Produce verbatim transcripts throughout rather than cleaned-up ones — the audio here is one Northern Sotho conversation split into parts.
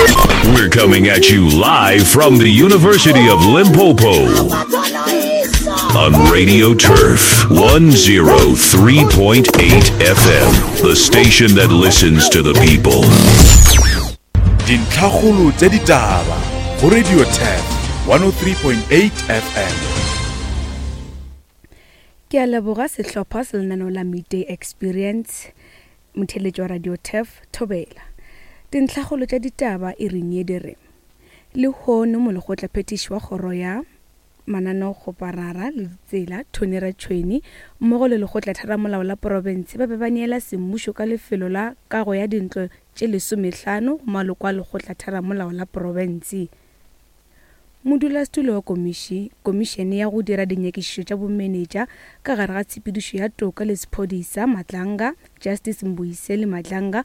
We're coming at you live from the University of Limpopo on Radio Turf one oh three point eight F M, the station that listens to the people. Dintlhakgolo tsa ditaba go Radio Turf one oh three point eight F M. Ke a leboga sehlopha sa lenaneo la Midday Experience, motheletši wa Radio Turf Thobela. Dintlhakgolo tša ditaba e reng ye di re lehono molekgotlaphethiši wa kgoro ya mananeokgoparara le ditsela Tony Ratšhweni mmogo le lekgotlatheramolao la profense ba be ba neela semmušo ka lefelo la kago ya dintlo tše lesomehlano go maloko a lekgotlatheramolao la profense. Modulasetulo wa komiši, komišene ya go dira dinyakišišo tša bomenetša ka gare ga tshepedišo ya toka le sephodisa Matlanga, Justice Mbuyiseli Matlanga,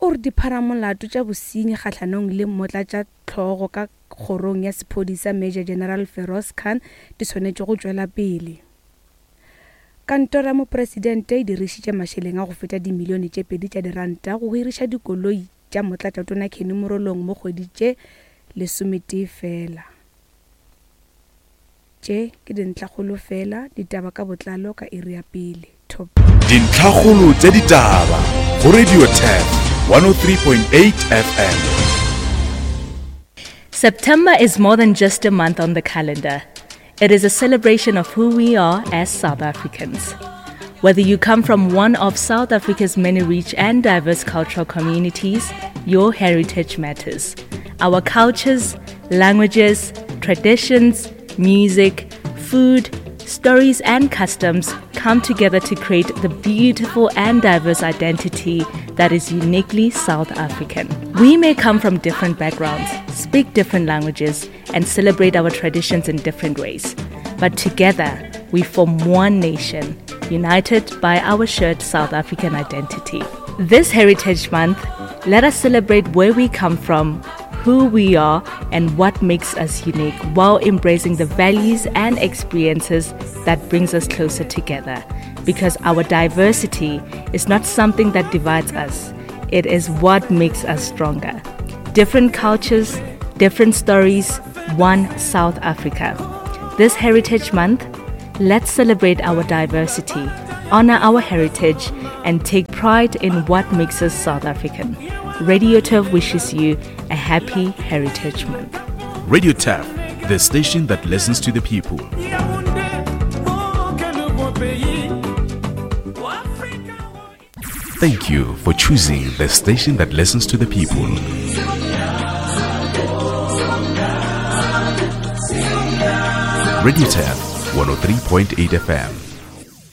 o re dipharamolato tša bosenyi kgahlanong le motlatšahlogo ka kgorong ya sephodisa Major General Feroz Khan di swanetše go tšwela pele. Kantoro ya mopresidente e dirišitše mašeleng a go feta dimilione tše pedi tša diranta go hiriša dikoloi tša motlatšatona Kenny Morolong mo kgwedi tše lesometee fela. Tše ke dintlhakgolo fela, ditaba ka botlalo ka iri ya pele. Top. Dintlhakgolo tša ditaba go Radio Turf one oh three point eight F M. September is more than just a month on the calendar. It is a celebration of who we are as South Africans. Whether you come from one of South Africa's many rich and diverse cultural communities, your heritage matters. Our cultures, languages, traditions, music, food, stories and customs come together to create the beautiful and diverse identity that is uniquely South African. We may come from different backgrounds, speak different languages, and celebrate our traditions in different ways. But together, we form one nation, united by our shared South African identity. This Heritage Month, let us celebrate where we come from, who we are, and what makes us unique, while embracing the values and experiences that brings us closer together. Because our diversity is not something that divides us, it is what makes us stronger. Different cultures, different stories, one South Africa. This Heritage Month, let's celebrate our diversity, honor our heritage, and take pride in what makes us South African. Radio Turf wishes you a happy Heritage Month. Radio Turf, the station that listens to the people. Thank you for choosing the station that listens to the people. Radio Turf, one oh three point eight F M.